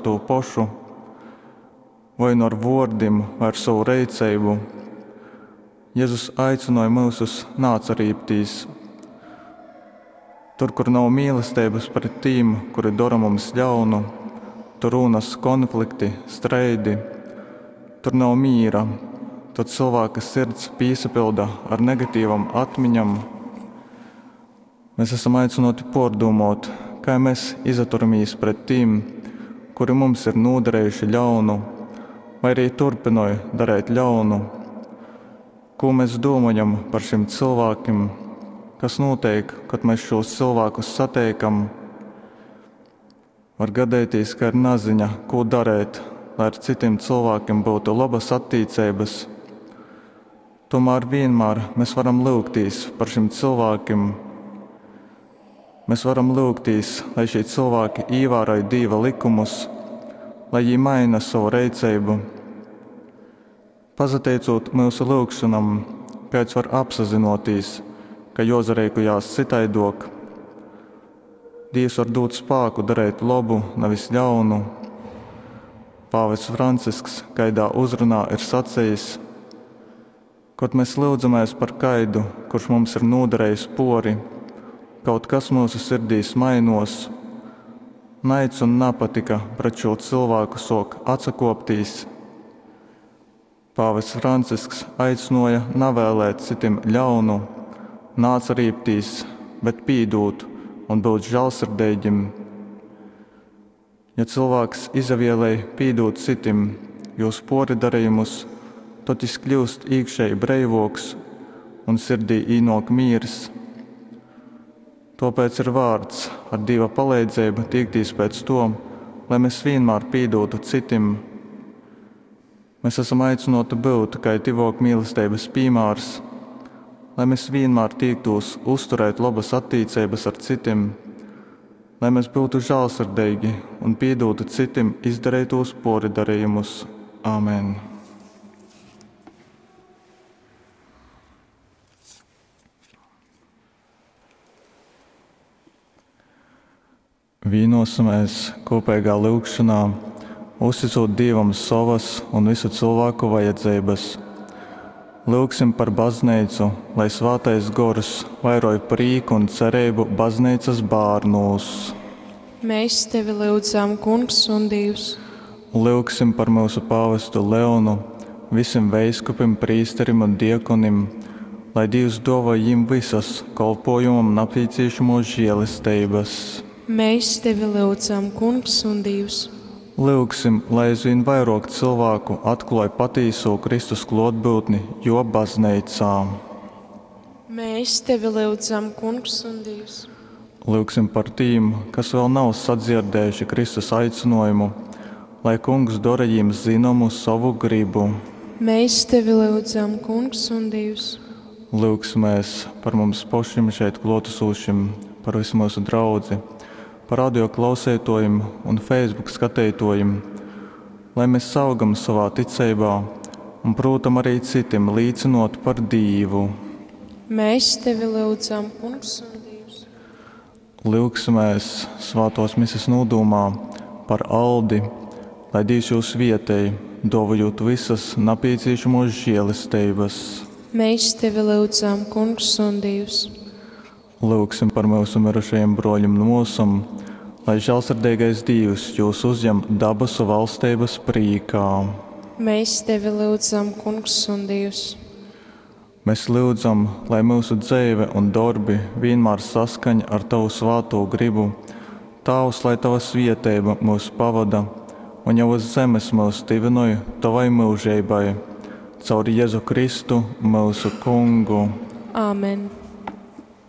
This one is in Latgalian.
tū pošu? Voi nu ar vōrdim, voi ar sovu reiceibu. Jezus aicynoj myusus naatsarībtīs. Tur, kur nav mīlesteibas pret tīm, kuri dora mums ļaunu, tur rūnas konflikti, streidi. Tur nav mīra, tod cylvāka sirds pīsapylda ar negatīvom atmiņom. Mes asam aicynōti pōrdūmōt, kai mes izaturamīs pret tīm, kuri mums ir nūdarejuši ļaunu, vai arī turpynoj dareit ļaunu. Kū mes dūmojam par šim cylvākim? Kas nūteik, kod mes šūs cylvākus sateikam? Var gadeitīs, ka ir naziņa, kū dareit, lai ar cytim cylvākim byutu lobas attīceibas. Tomēr vienmēr mēs varam lyugtīs par šim cylvākim. Mēs varam lyugtīs, lai šie cilvēki ievēroj Dieva likumus, lai viņi maina savu reiceibu. Pasateicot mūsu lūgšanam, kāds var apsazinoties, ka jozareikojās citaidok. Dievs var dot spāku darīt labu, nevis ļaunu. Pāvests Francisks kaidā uzrunā ir sacījis, kad mēs lūdzamies par kaidu, kurš mums ir nodarījis pori, kaut kas mūsu sirdīs mainos. Naids un nepatika pret šo cilvēku sok atsakoptīs. Pāvests Francisks aicināja nevēlēt citim ļaunu, neatsarībtīs, bet pīdūt un būt žēlsirdīgim. Ja cilvēks izavielēj pīdūt citim jūs poridarījumus, tad jis kļūst iekšēji breivoks un sirdī īnok mīrs. Tāpēc ir vārds ar Dieva palīdzību tiekties pēc to, lai mēs vienmēr pīdūtu citim. Mēs esam aicināti būt kā tivok mīlestības piemērs, lai mēs vienmēr tiektos uzturēt labas attiecības ar citim, lai mēs būtu žēlsirdīgi un piedotu citim izdarītos poridarījumus. Āmen! Vīnosimies kopīgā lūgšanā, uzticot Dievam savas un visu cilvēku vajadzības. Lūgsim par baznīcu, lai svētais gors vairoj prieku un cerību baznīcas bērnūs. Mēs tevi lūdzam, Kungs un Dievs. Lūgsim par mūsu pāvestu Leonu, visiem veiskupim, prīsterim un diekonim, lai Dievs dāvā viņiem visas kolpojumam nepieciešamos žēlestības. Mēs tevi lūdzam, Kungs un Dievs. Lūgsim, lai aizvien vairāk cilvēku atklāj patīso Kristus klātbūtni jo baznīcā. Mēs tevi lūdzam, Kungs un Dievs. Lūgsim par tiem, kas vēl nav sadzirdējuši Kristus aicinājumu, lai Kungs dara viņiem zināmu savu gribu. Mēs tevi lūdzam, Kungs un Dievs. Lūgsimies par mums pašiem šeit klātesošiem, par visu mūsu draudzi, par radio klausētojiem un Facebook skatītojiem, lai mēs augam savā ticībā un, protams, arī citiem līdzinot par Dievu. Mēs tevi lūdzam, Kungs un Dievs. Lūgsimies svētos mises nodomā par Aldi, lai Dievs jūs vietēji, dāvājot visas nepieciešamos žēlestības. Mēs tevi lūdzam, Kungs un Dievs. Lūgsim par mūsu mirušajiem broļiem un mūsam, lai žēlsirdīgais Dievs jūs uzņem dabasu valstības prīkā. Mēs tevi lūdzam, Kungs un Dievs. Mēs lūdzam, lai mūsu dzīve un darbi vienmēr saskaņ ar Tavu svēto gribu. Tēvs, lai Tava svieteiba mūs pavada un jau uz zemes mūs tivinoj Tavai mūžībai. Caur Jēzu Kristu, mūsu Kungu. Āmen.